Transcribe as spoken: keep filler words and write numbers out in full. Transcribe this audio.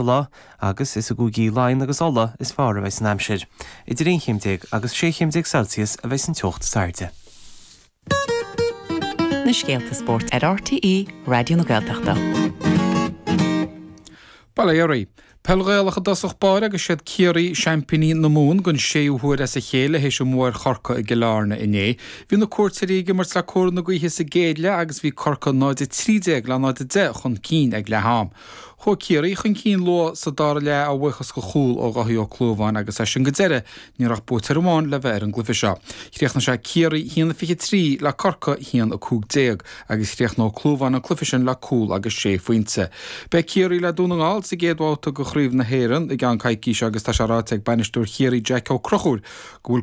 lá agus is i gcúigí Laighean agus Uladh is fearr a bheidh an aimsir. Idir aon chéim déag agus sé chéim déag Celsius a bheidh an teocht is airde. Na scéalta spóirt ar RTÉ Raidió na Gaeltachta. Bail ó Dhia oraibh. Peil Ghaelach i dtosach báire agus siad Ciarraí seaimpíní na Mumhan don séú huair as a chéile théis an bhua ar Chorcaigh i gCill Airne inné. Bhí na cuairteoirí ag imirt le cóir na gaoithe sa gcéad leath agus bhí Corcaigh náid a trí déag le náid a deich chun cinn ag leath-am. Chuaigh Ciarraí chun cinn luath sa dara leath a bhuíochas do chúl ó Dháithí Ó Clúmháin agus as sin go deireadh ní raibh buaiteoir amháin le bheith ar an gcluiche seo. Chríochnaigh sé Ciarraí haon a fiche trí le Corcaigh haon a cúig déag agus chríochnaigh Ó Clúmháin an cluiche sin le cúl agus sé phointe. Beidh Ciarraí le Dún na nGall sa gcéad bhabhta de Chraobh na hÉireann i gceann coicíse agus tá sé ráite ag bainisteoir Chiarraí Jack Ó Conchúir go bhfuil